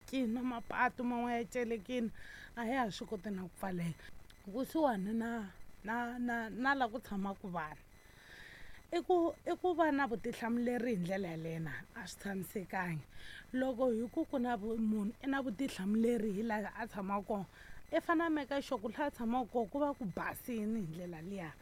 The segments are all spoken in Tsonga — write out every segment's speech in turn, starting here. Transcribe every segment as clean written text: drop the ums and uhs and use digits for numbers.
Celekini na mapatu man'wana ya celekini a ya ha swi koti na ku pfaleka kusuhani na la ku tshamaka vanhu. I ku va na vutihlamuleri hi ndlela yaleyo na a swi tshamisekanga. Loko hi ku ku na munhu i na vutihlamuleri hi laha a tshamaka kona, i fane a make sure ku laha a tshamaka kona ku va ku basini hi ndlela liya,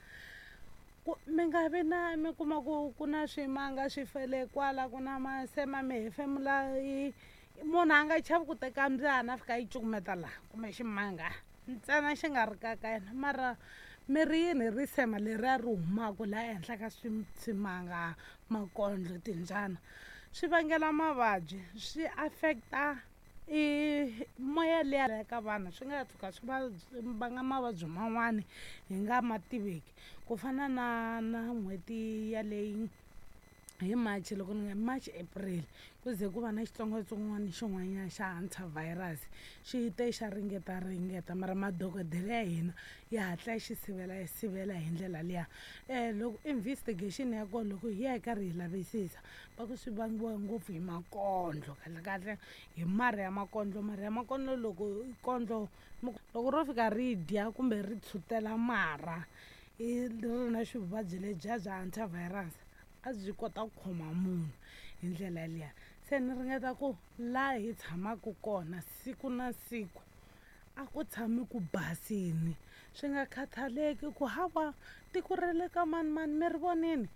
ku mi nga vi na mi kuma ku ku na swimanga swi fele kwala, ku na masema, mi hefemula. I munhu a nga chavi ku teka mbyana a fika a yi cukumeta laha, kumbe ximanga ntsena xi nga ri ka ka yena. Mara mi ri yini hi risema leriya ri humaka laha ehenhla ka swimanga, makondlo, timbyana? Swi vangela mavabyi, swi affect-a i moya liya ka vanhu, swi nga tshuka swi va vanga mavabyi man'wani hi nga ma tiveki. Ku fana na n'hweti yaleyi hi March, loko ni nga March, April, ku ze ku va na xitsongwatsongwana xin'wanyana xa Hantavirus. Xi te xa ringeta ringeta, mara madokodela ya hina ya hatla ya xi sivela, ya sivela hi ndlela liya. Loko investigation ya kona, loko hi ya hi karhi hi lavisisa, va ku swi vangiwa ngopfu hi makondlo, kahle kahle hi marhi ya makondlo. Marhi ya makondlo, loko kondlo loko ro fika ri dya kumbe ri tshutela marha i ri na xivuvabyi lebyiya bya Hantavirus, a byi kota ku khoma munhu hi ndlela yaliya. Se ni ringeta ku laha hi tshamaka kona siku na siku a ku tshami ku basini, swi nga khathaleki ku hawa tiko ra le ka manimani mi ri vonini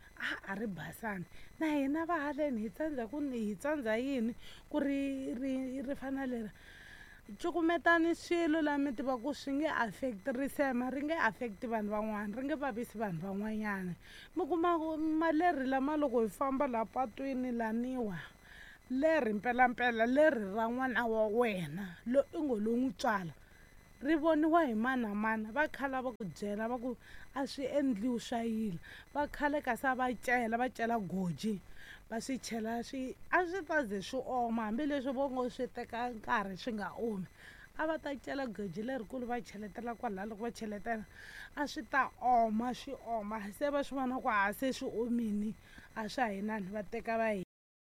a ri basanga, na hina va haleni hi tsandza ku hi tsandza yini ku ri ri ri fana leri. Cukumetani swilo laha mi tiva ku swi nge affect risema, ri nge affect vanhu van'wana, ri nge vavisi vanhu van'wanyana. Mi kuma ku malerhi lama loko hi famba laha patwini laniwa, lerhi mpelampela lerhi ra n'wana wa wena lo i ngo lo n'wi tswala, ri voniwa hi mani na mani. Va khala va ku byela va ku a swi endliwi swa yila. Va khale kasi a va cela, va cela goji, va swi chela, swi a swi ta ze swi oma, hambileswi vo ngo swi teka nkarhi swi nga omi. A va ta cela goji lerikulu, va cheletela kwalaya. Loko va cheletela, a swi ta oma, swi oma, se va swi vona ku a se swi omini, a swa ha inani, va teka va.